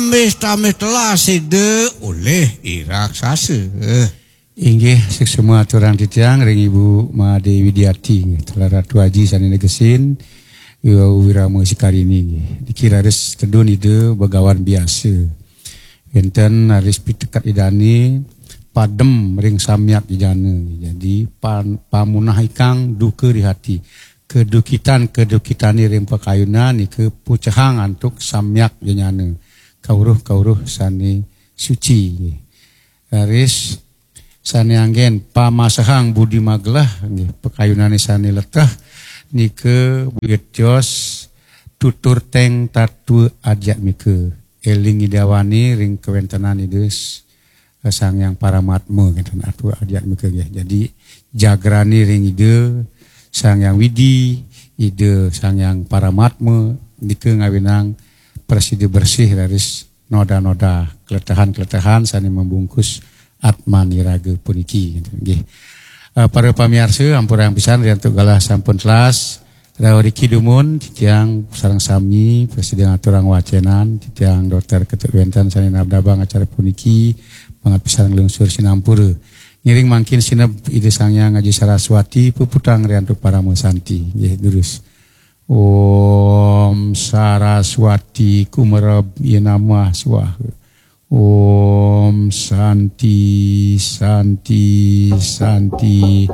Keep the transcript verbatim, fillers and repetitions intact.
Tambih-tambih telah sida oleh i raksasa. Inggih, suksma aturang titiang ring Ibu Made Widiati, nggih, telah Ratu Aji sane negesin, Ibu Wirama Sikarini, nggih. Niki raris tedun Ida Begawan Biasa. Wenten raris piteket Idane padem ring samyak jejana. Jadi pan, pamunah ikang duka di hati. Kedukitan-kedukitane ring pakayunan nika pucehang antuk samyak jejana. Kauruh-kauruh sane suci. Raris sane anggen pamasehang budi magelah, nggih, pakayunane sane leteh nika buyut tios tutur teng tatwa adhyatmika. Eling Ida Wani ring kawentenan Ida S-, Sang Hyang Paramatma, ngeten, tatwa adhyatmika, nggih. Jadi jagrane ring Ida Sang Hyang Widi, Ida Sang Hyang Paramatma nika ngawinang prasida bersih raris noda-noda, keletehan-keletehan sane membungkus atmaniraga puniki, ngeten, nggih. Eh, para pamiarsa, ampurang pisan riantuk galah sampun telas. Rauh riki dumun, titiang sareng sami prasida ngaturang wacenan, titiang Dokter Ketut Wenten sane nabdabang acara puniki, banget pisan nglungsur sinampura. Ngiring mangkin sineb Ida Sang Hyang Aji Saraswati, puputang riantuk parama santi. Nggih, durus. Om Saraswati Kumereb Yenamah Swaha. Om Santi, Santi, Santi.